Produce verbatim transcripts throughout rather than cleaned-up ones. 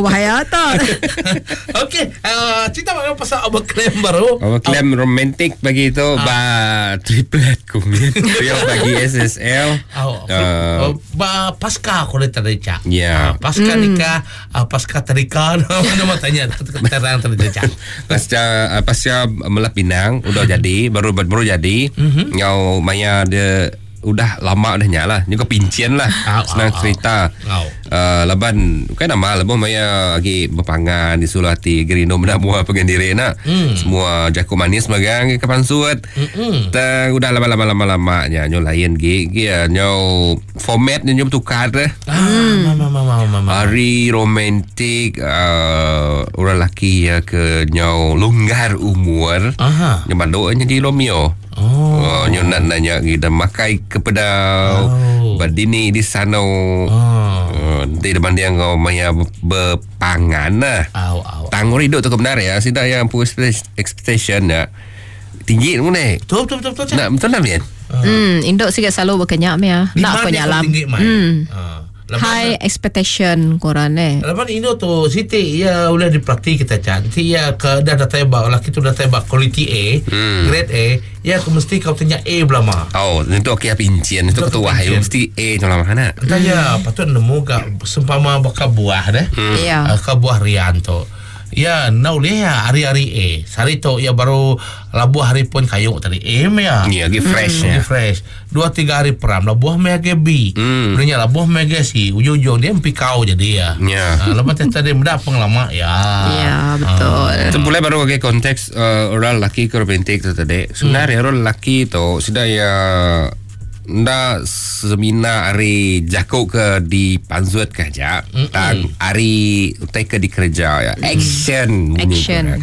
Oh bahaya tu. Okey, uh, cerita mana pasal overclaim baru. Overclaim romantik bagi itu ah. Ba triplet kumit. Rio bagi S S L. Oh, uh, oh, ba pasca aku tadi cak. Ya. Uh, pasca mm. nikah, uh, pasca terika nama tanya terang tadi cak. Pasca uh, pasca melah pinang udah jadi baru baru jadi. Mm-hmm. Ngau maya dia udah lama dah nyala juga pincin lah. Au, senang au, cerita. Au. Uh, laban bukan nama lebuh maya lagi berpangan di sulati gerino benda buah pengendiri nak. Mm. Semua jakuk manis magang ke pansut. Mm-mm. Tang udah lama-lama lama-lama nya nyo lain gi gi nyo format nyo tukar deh. Ah, mama mama mama. Hari romantik uh, orang lelaki ya ke nyo longgar umur. Aha. Nyo banduk jadi Romeo. Oh. Oh, nyo nak nanya kita makai kepada oh. Badini di sana. Oh. Uh, nanti depan dia kau maya berpangan lah. Au au. Tanggur hidup tu kebenar ya. Sida yang push expectation ya. Tinggi tu ni. Betul betul betul betul. Nak betul lah Mian. Hmm, induk sikit selalu berkenyak ya. Nak penyalam. Hmm. Uh. High expectation korang eh. Lepas ini tu Siti ya boleh diperhati kita cantik ya ke dah dah tembak laki tu dah tembak quality A, hmm. grade A, ya aku mesti kau tanya A belama. Oh, itu okey pincin itu ketua ya mesti A tu lama mana. Entah ya patut nemu gak sempama bakal buah deh. Hmm. Ya. Bakal buah rian tu. Ya, nau lihat hari-hari A. Sehari tu ya baru labuh hari pun kayu tadi A ya. Ya, lagi fresh hmm. ya. Fresh. Dua tiga hari peram labuh mega B. Hmm. Punya labuh mega C. Ujung-ujung dia empi kau jadi ya. Ya. Ha, lepas tadi muda pengelama ya. Ya, betul. Itu boleh baru bagi konteks uh, orang lelaki ke romantik tu tadi. Sebenarnya hmm. orang lelaki tu sudah ya nda semina hari jakuk ke di panzuat ke aja tang hari utai ke di kerja ya action action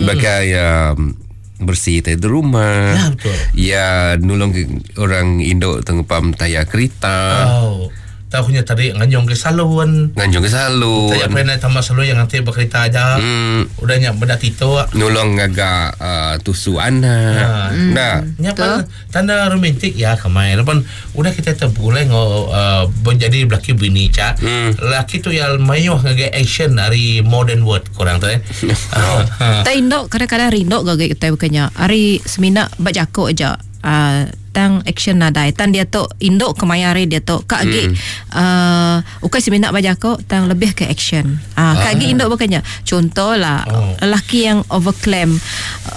bagai um, bersih di rumah ya betul ya nolong orang induk tengepam tayar kereta oh tahunya tadi nganjong ke salon nganjong ke salon saya pernah tambah salon yang nanti berkereta aja hmm. udah nyak benda tito nolong agak uh, tusu anak ha. hmm. Nah nyapa tanda romantik ya kemai lepas udah kita terboleh ngo uh, menjadi laki bini cak hmm. laki tu yang mayuh ngagai action dari modern world kurang tu eh oh. Tak indok kadang-kadang rindok gak kita bukannya hari semina bak jakuk aja uh, tang action nadai tan dia tu induk kemaya hari dia tu kak gi Hmm. uh, ukai semina baca ko tang lebih ke action ah uh, kak gi induk bukannya contohlah Oh. lelaki yang overclaim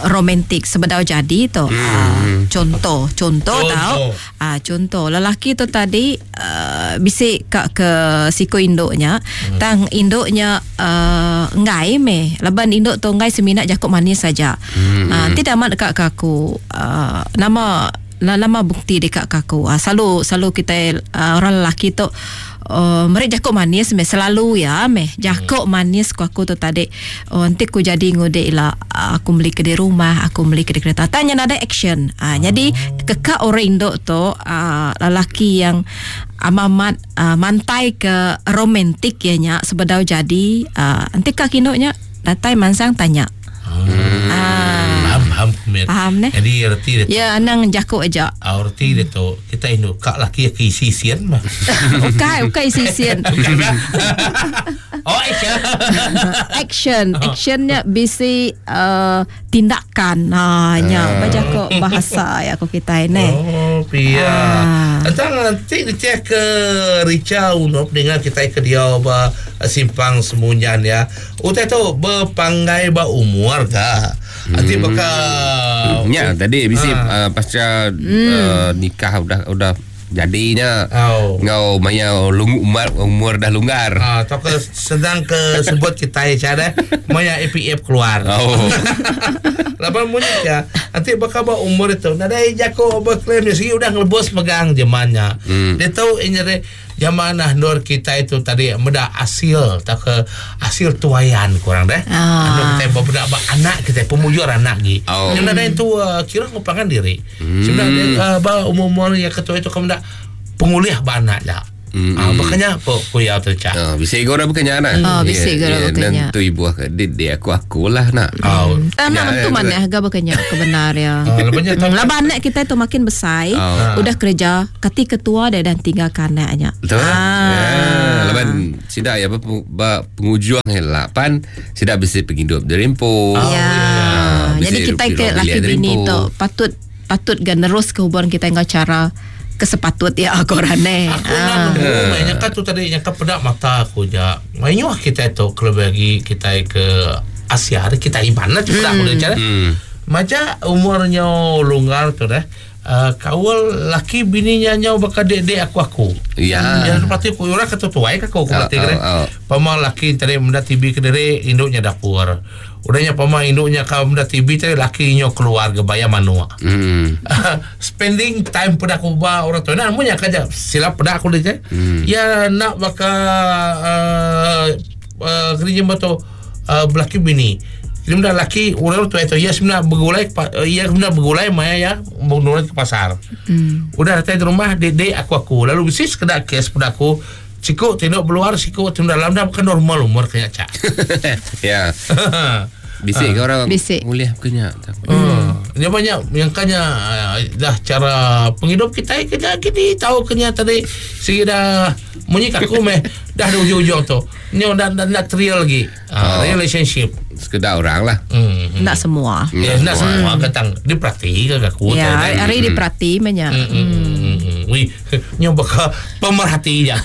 romantik sebedau jadi tu Hmm. uh, contoh contoh Contoh. tau ah uh, contoh lelaki tu tadi uh, bisik kak ke siko induknya Hmm. tang induknya uh, ngai me laban induk tu ngai semina jakuk manis saja Hmm. uh, tidak amat dekat ke aku uh, nama lama bukti dekat kaku. Ah, selalu selalu kita uh, orang lelaki tu uh, mereka jakuk manis meh selalu ya meh jakuk manis ku aku tu tadi. Oh, nanti ku jadi ngodek lah aku beli ke di rumah, aku beli ke di kereta. Tanya nada action. Ah, jadi kekak orang induk tu uh, lelaki yang amamat uh, mantai ke romantik ya nya sebedau jadi uh, nanti kak induknya datai mansang tanya. Hmm. Ah, Faham faham kumit. Faham neh? Jadi erti dia tu. Ya anang jakuk aja. Ah, erti dia tu kita induk kak laki ke isi sian mah. Ukai, ukai sisian. Oh, action. Action, actionnya bisi uh, tindakan. Ha nya baca kok bahasa ya ko kita ini. Oh, pia. Ah. Entang nanti dia ke Rica untuk dengar kita ke dia ba simpang semunyan ya. Utai tu berpanggai ba umur ka. Nanti bakal Ya, tadi bisi Ah. uh, pasca uh, nikah udah udah jadinya. Oh. Ngau maya lungu umur umur dah longgar. Ah, atau ke sedang ke sebut kita ya cara maya A P F keluar. Oh. Lapan bunyi ya. Nanti bakal ba umur itu. Nadai jako berklaim dia segi udah ngelebus megang zamannya. Hmm. Dia tahu ini dari zaman nah nur kita itu tadi meda hasil tak ke hasil tuayan kurang deh. Ah. Anu kita beberapa ba anak kita pemujur anak gi. Oh. Yang nadai itu uh, kira ngupangan diri. Hmm. Sebenarnya uh, ba umur-umur yang ketua itu kamu dak pengulih ba anak ya. Mm. Ah, makanya po kuya tu cak. Ah, bisa gora bukannya nak. Oh, bisa gora bukannya. Nentu ibu ke di aku akulah nak. Oh. Tak nak tentu mana harga bukannya kebenar ya. Ah, Laban anak kita tu makin besar, oh. udah kerja, kati ketua dia dan tinggal kanaknya. Betul. Ah. Ya, laban sidak ya apa pengujuang lapan sidak bisa penghidup derimpo. Oh, ya. Ah, jadi kita ke laki bini tu patut patut gan nerus ke hubungan kita dengan cara kesepatut ya korane. Aku nak nemu mainnya kan tu tadi yang pedak mata aku ja. Mainnya kita tu kalau bagi kita ke Asia hari kita iban lah cepat aku dia cara. Macam umurnya longgar tu dah. Uh, kawal laki bininya nyau bakal dek-dek aku aku. Ya. Yang berarti aku orang kata tuai ke aku berarti kira. Pama laki tadi menda T B ke dere induknya dapur. Udahnya pama induknya ka menda T B tadi laki nyo keluar ke bayar manua. Hmm. Spending time pada aku ba orang tua. Nah, munya kaja silap pada aku dia. Hmm. Ya nak bakal uh, uh, kerja betul uh, belaki bini. Jadi benda laki orang tu itu ya sebenarnya bergulai ya sebenarnya bergulai maya ya menurut ke pasar. Hmm. Udah datang di rumah dedek aku aku lalu mesti sekedar kes pada aku sikuk tengok keluar sikuk tengok dalam dah bukan normal umur kaya cak. Ya. Bisik ke orang Bisik. Boleh kena. Hmm. Dia banyak yang kanya dah cara penghidup kita kena kini tahu kena tadi segi dah munyi aku meh dah di ujung-ujung tu. Ni dah dah nak trial lagi. Oh. Relationship. Sekedar orang lah. Hmm. Nak semua. Ya, nak semua katang diperhati ke aku. Ya, hari diperhati banyak. Hmm. Wih, nyo bakal pemerhati ya.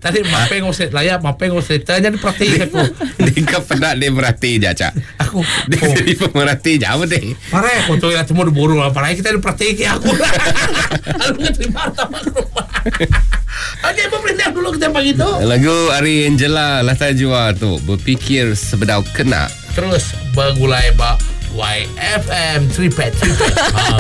Tadi mape ngosek layak, mape ngosek tanya diperhati aku. Dia pernah dia perhati je, Cak. Aku dia jadi pemerhati je apa deh. Parah aku tu yang temu diburu lah. Parah kita diperhati ke aku. Aku terima tamu rumah. Okey, pemerintah dulu kita pagi tu. Lagu Ari Angela Latar Jua tu berfikir sebedau kena. Terus bergulai ba Y F M Tripet Tripet. Ha.